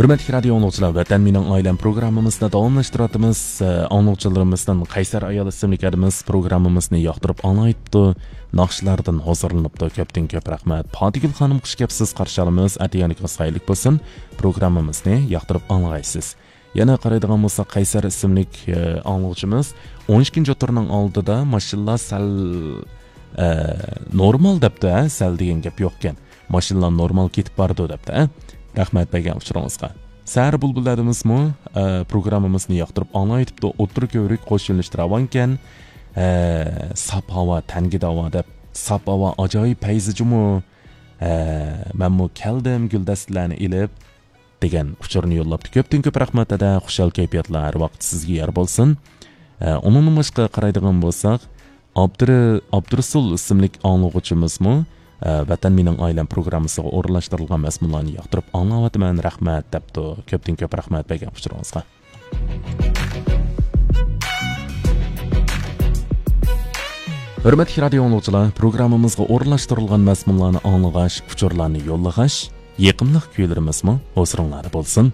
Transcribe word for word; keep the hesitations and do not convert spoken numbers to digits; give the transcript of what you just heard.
ھۆرمەتلىك رادىيو ئاڭلىغۇچىلار، ۋەتەن مېنىڭ ئائىلەم پروگراممىمىزنى داۋاملاشتۇرۇۋاتىمىز. ئە، ئاڭلىغۇچىلىرىمىزدىن قەيسەر ئايال ئىسىملىك ئەرىمىز پروگراممىمىزنى ياقتۇرۇپ ئاڭلايتتى. ناخشىلاردىن ھۇزۇرلىنىپتۇ. كۆپتىن كۆپ رەھمەت. پاتىگۈل خانىم، خۇش كەپسىز، قارشى ئالىمىز. ئەتىگەنلىكىڭىز خەيرلىك بولسۇن. پروگراممىمىزنى ياقتۇرۇپ ئاڭلىغايسىز. يەنە قارايدىغان بولساق، قەيسەر ئىسىملىك، ئە، ئاڭلىغۇچىمىز ئون ئىككىنچى تورنىڭ ئالدىدا ماشىنىلار سەل، ئە، نورمال دەپتۇ، ھە، سەل دېگەن گەپ يوقكەن. ماشىنىلار نورمال كېتىپ بارىدۇ دەپتۇ، ھە. رەھمەت بەرگەن ئۇچۇرىڭىزغا. سەھەر بۇلبۇللىرىمىزمۇ، ئە، پروگراممىمىزنى ياقتۇرۇپ ئاڭلايتىپتۇ. ئوتتۇرا كۆۋرۈك قوش يۆنىلىشتە راۋانكەن. ئە، ساپ ھاۋا، تەنگە داۋا دەپ، ساپ ھاۋا ئاجايىپ پەيزى جۇمۇ. ئە، مەنمۇ كەلدىم گۈلدەستىلەرنى ئېلىپ، دېگەن ئۇچۇرنى يوللاپتۇ. كۆپتىن كۆپ رەھمەت، دەدە. خۇشال كەيپىياتلار ھەر ۋاقىت سىزگە يار بولسۇن. ئە، ئۇنىڭدىن باشقا قارايدىغان بولساق، ئابدۇرى-، ئابدۇرسۇل ئىسىملىك ئاڭلىغۇچىمىزمۇ، ئە، ۋەتەن مېنىڭ ئائىلەم پروگراممىسىغا ئورۇنلاشتۇرۇلغان مەزمۇنلارنى ياقتۇرۇپ ئاڭلاۋاتىمەن، رەھمەت، دەپتۇ. كۆپتىن كۆپ رەھمەت بەرگەن ئۇچۇرىڭىزغا. ھۆرمەتلىك رادىيو ئاڭلىغۇچىلار، پروگراممىمىزغا ئورۇنلاشتۇرۇلغان مەزمۇنلارنى ئاڭلىغاچ، ئۇچۇرلارنى يوللىغاچ، يېقىملىق كۈيلىرىمىزمۇ ھۇزۇرۇڭلاردا بولسۇن.